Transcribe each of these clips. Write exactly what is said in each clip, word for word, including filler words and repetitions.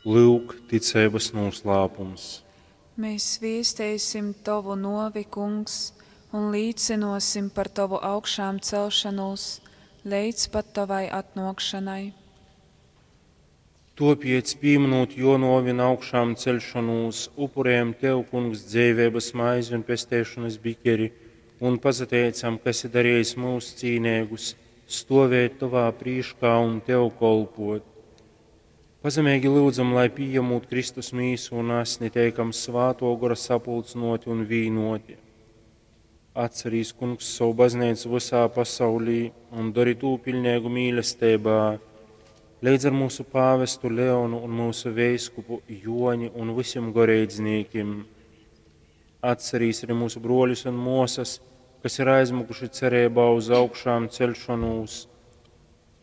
Lyuk, ticeibys nūslāpums. Mēs viesteisim Tovu nuovi, Kungs, un līcynuosim par Tovu augšāmcelšanūs leidz pat Tovai atnuokšanai. Tuopiec, pīmynūt Juo nuovi un augšāmceļšonūs, upurējam Tev, Kungs, dzeiveibys maizi un pesteišonys bikeri un pasateicam, ka esi darejis myus cīneigus stuovēt Tovā prīškā un Tev kolpuot. Pazemeigi lyudzam, lai pījamūt Kristus mīsu un asni, teikam Svātuo Gora sapulcynuoti un vīnuoti. Atcerīs, Kungs, sovu bazneicu vysā pasaulī un dori tū piļneigu mīlesteibā, leidz ar mūsu pāvestu Leonu un mūsu veiskupu Joni un vysim goreidznīkim. Atcerīs arī mūsu bruoļus un muosas, kas ir aizmukuši cereibā uz augšām celšonūs,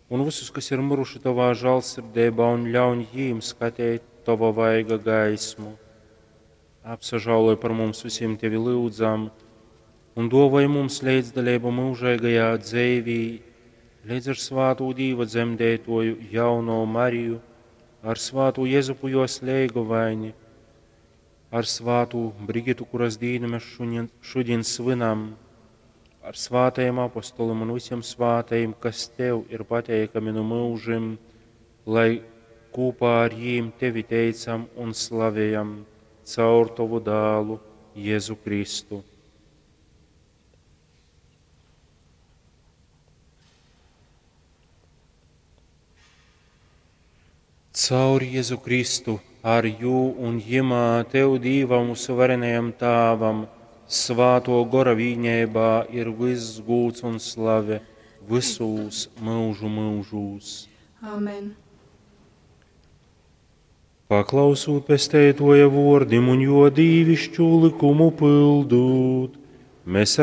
un visus, kas ir miruši Tovā žālsirdeibā, un ļauņ jīm skateit Tova vaiga gaismu. Apsažāloj par mums visiem Tevi lyudzam, un duovoj mums leidzdaleibu mūžīgajā dzeivī, leidz ar svātū Dīva dzemdētoju jauno Mariju, ar svātū Jezupu jos leigovaini, ar svātū Brigitu, kuras dīnu mēs šodien, šodien svinam, ar svātajiem apostolim un visiem svātajiem, kas Tev ir pateikami no mūžim, lai kopā ar jīm Tevi teicam un slavējam caur Tovu dālu Jēzu Kristu. Caur Jēzu Kristu, ar jū un jimā Tev Dīvam mūsu varenajam Tāvam, Svāto Gora vīņībā ir viss gūds un slave visūs mūžu mūžūs. Amen. Paklausūt pesteitoja vordim un jo dīvišķu likumu pildūt, mēs